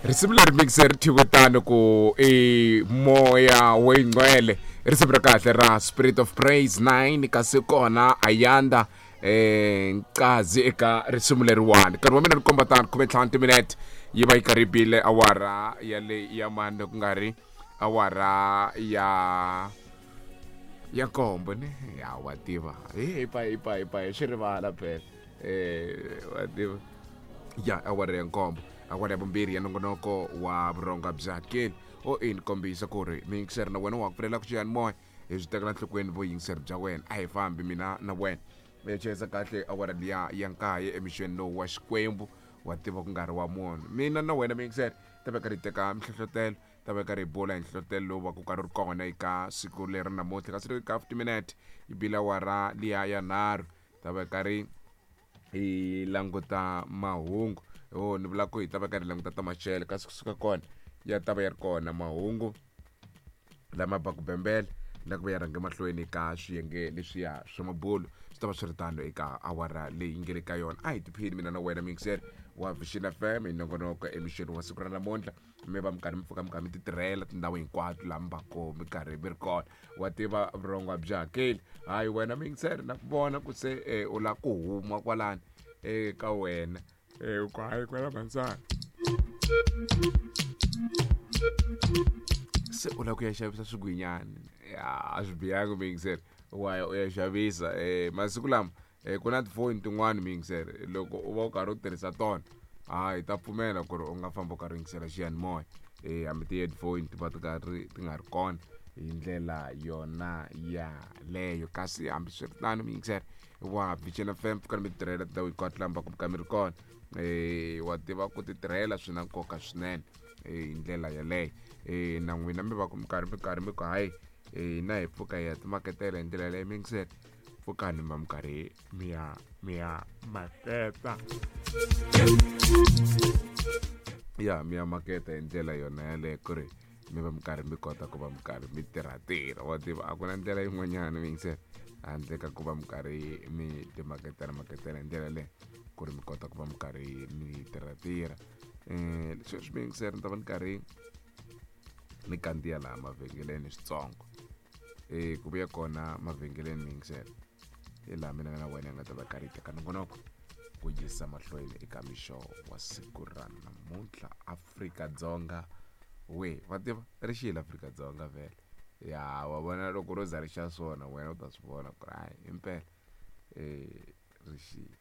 Risimu leri mixer ri thyiwe tano ku i moya weyingcwele, i risimu ra kahle ra Spirit of Praise 9, kasi kona Ayanda Ncazi eka risimu leriwani. Nkarhi wa mina ri komba tano 15 timinete yi va yi karhi yi bile awara ya le ya mane, ku nga ri awara ya nkombo ne. Ya wa tiva, hi pa hi pa hi pa hi swi rivala phela, wa tiva, ya awara ya nkombo, awara ya vumbirhi ya nongonoko wa vurhonga bya keni o i ni kombisa ku ri miyingiseri na wena wa ku pfulela ku xiyanimoya hi swi tekela nhlokweni vuyingiseri bya wena. A hi fambi mina na wena mi chayisa kahle awara liya ya nkaye emixweni lowu wa Xikwembu, wa tiva, ku nga ri wa munhu. Mina na wena miyingiseri ta va karhi hi teka mihlohlotelo, ta va karhi hi bula hi nhlohlotelo lowu va ku karhi ri kona eka siku leri namuntlha, kasi ri ka 50 minute yi bile awara liya ya nharhu, ta va karhi hi languta mahungu. O ni vula ku hi ta va karhi hi languta ta maxelo, kasi kusuka kona ya ta va ya ri kona mahungu lama baku bembele na ku va ya rhange mahlweni ka swiyenge leswiya swa mabulo. Swi ta va swi ri tano eka awara leyi nge le ka yona. A hi tiphini mina na wena mixer wa Vision FM hi nongonoko emixeni wa siku ra namuntlha. Mi va mi karhi mi pfuka, mi karhi mi ti tirhela tindhawu hinkwato laha mi va ko mi karhi mi ri kona, wa tiva, vurhongo byi hakeli. Hayi wena mixer, na ku vona ku se u lava ku huma kwalani eka wena, ku hayi kwala mansana se u lava ku ya xavisa swigwinyani. Ya a swi bihangi mixer, wa ya u ya xavisa. Masiku lama ku na tifoni tin'wani mixer, loko u va u karhi u tirhisa tona, hayi ta pfumela ku ri u nga famba u karhi u yingisela xiyanimoya, hambi ti-headphone ti va ti karhi ti nga ri kona hi ndlela yona yaleyo. Kasi hambiswiritano mixer wa Vision FM, pfukani mi tirhela tindhawu hinkwato laha mi va ku mi ka mi ri kona, wa tiva, ku ti tirhela swi na nkoka swinene hi ndlela yaleyo. Na n'wina mi va ku mi karhi mi ku hayi, hina hi pfuka hi ya timaketela hi ndlela yaleyo. Mixer, pfukani mi va mi karhi mi ya maketa, ya mi ya maketa hi ndlela yona yaleyo, ku ri mi va mi karhi mi kota ku va mi karhi mi tirha tirha. Wa tiva, a ku na ndlela yin'wanyana mixer handle ka ku va mi karhi mi timaketela maketela hi ndlela leyi, ku ri mi kota ku va mi karhi mi tirha tirha. Sweswi mixer ni ta va ni karhi ni kandziya laha mavhengeleni switsongo, ku vuya kona mavhengeleni mixer, hi laha mina na wena hi nga ta va karhi hi teka nongonoko ku yisa mahlweni eka mixo wa siku ra namuntlha. Afrika-Dzonga we, va tiva ri xile Afrika-Dzonga vhele. Ya wa vona, loko ro za ri xa swona, wena u ta swi vona ku ri hayi, impela ri xile.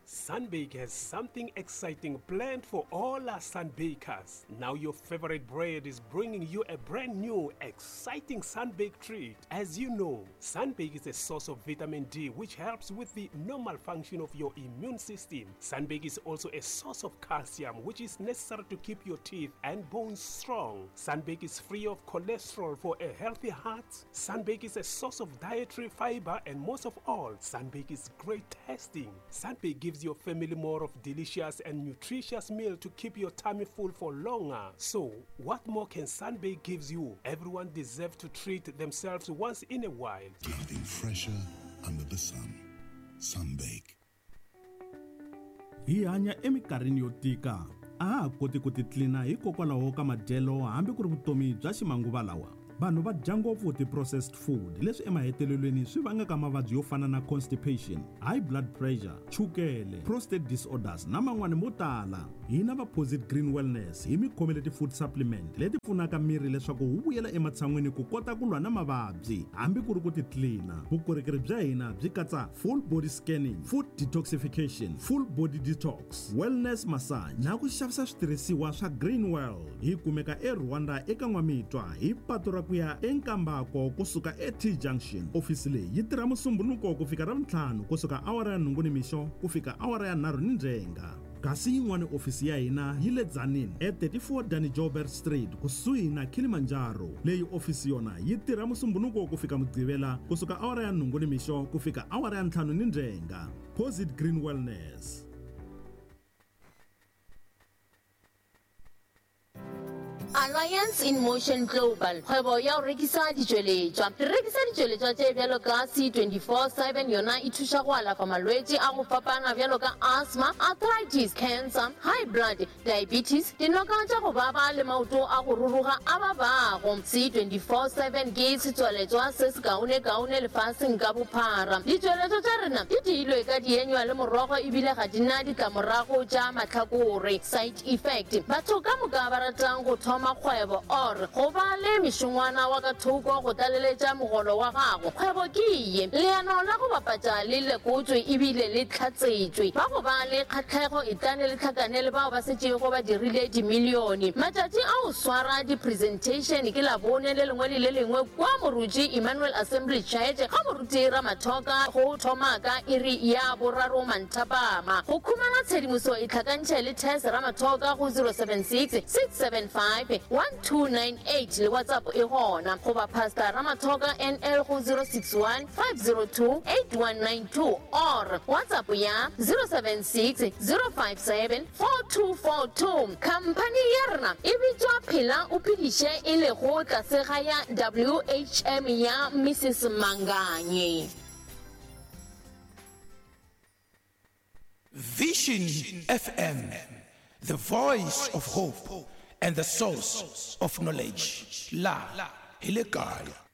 Sunbake has something exciting planned for all our sunbakers. Now your favorite bread is bringing you a brand new, exciting Sunbake treat. As you know, Sunbake is a source of vitamin D, which helps with the normal function of your immune system. Sunbake is also a source of calcium, which is necessary to keep your teeth and bones strong. Sunbake is free of cholesterol for a healthy heart. Sunbake is a source of dietary fiber, and most of all, Sunbake is great tasting. Sunbake gives your family more of delicious and nutritious meal to keep your tummy full for longer. So, what more can Sunbake gives you? Everyone deserves to treat themselves once in a while. Nothing fresher under the sun. Sunbake. Hi hanya eminkarhini yo tika, a ha ha koti ku titlina hikokwalaho ka madyelo hambi ku ri vutomi bya ximanguva lawa. Vanhu va dya ngopfu ti-processed food, leswi emahetelelweni swi vangaka mavabyi yo fana na constipation, high blood pressure, chukele, prostate disorders na man'wani mo tala. Hina va Posit Green Wellness hi mi khomele ti-food supplement leti pfunaka miri leswaku wu vuyela ematshan'wini ku kota ku lwa na mavabyi hambi ku ri ku titlina. Vukorhokeri bya hina byi katsa full body scanning, food detoxification, full body detox, wellness massage na ku xavisa switirhisiwa swa Green World. Hi kumeka eRwanda eka N'wamitwa, hi patu ra ku ya eNkambako kusuka et Junction. Ofisi leyi yi tirha Musumbunuko ku fika Ravuntlhanu, kusuka awara ya 8 nimixo ku fika awara ya 3 ni ndzhenga, kasi yin'wana ofisi ya hina yi le Tzaneen e34 Danny Joubert Street, kusuhi na Kilimanjaro. Leyi ofisi yona yi tirha Musumbunuko ku fika Mugqivela, kusuka awara ya 8 nimixo ku fika awara ya 5 ni ndzhenga. Posit Green Wellness. Alliance in Motion Global, kgwebo ya go rekisa ditšweletšwa. Re rekisa ditšweletšwa tše bjalo ka C24/7, yona e thuša go alafa malwetši a go fapana bjalo ka asthma, arthritis, cancer, high blood, diabetes, dinoka tša go baba le maoto a go ruruga a babago. C24/7 ke setswaletšwa se sekaonekaone lefaseng ka bophara. Ditšweletšwa tša rena di diilwe ka dienywa le morogo ebile ga di na ditlamorago tša mahlakore, side effect. Batho ka moka ba ratang go thoma kgwebo or go ba le mešongwana wa ka thoko go tlaleletša mogolo wa gago, kgwebo ke ye. Leano la go bapatša le lekotšwe ebile le hlatsetšwe. Ba go ba le kgahlego etlane le hlakane le bao ba setšego ba dirile dimilione. Matšatši a go swara di-presentation ke Labone le lengwe le le lengwe kua Moruti Emmanuel Assembly Church ga Moruti Ramathoka go thoma ka iri ya boraro manthapama. Go khumana tshedimoso itlhakantšhe le Tess Ramathoka go 076 675 1298 le WhatsApp e gona, goba Pastor Ramathoka NL go 061 502 8192 or WhatsApp ya 076 057 4242. Khamphani ya rena e bitšwa Phela o Phediše e lego tlase ga ya WHM ya Mrs Manganye. Vision FM, the voice of hope and the source of knowledge. La hi le kaya.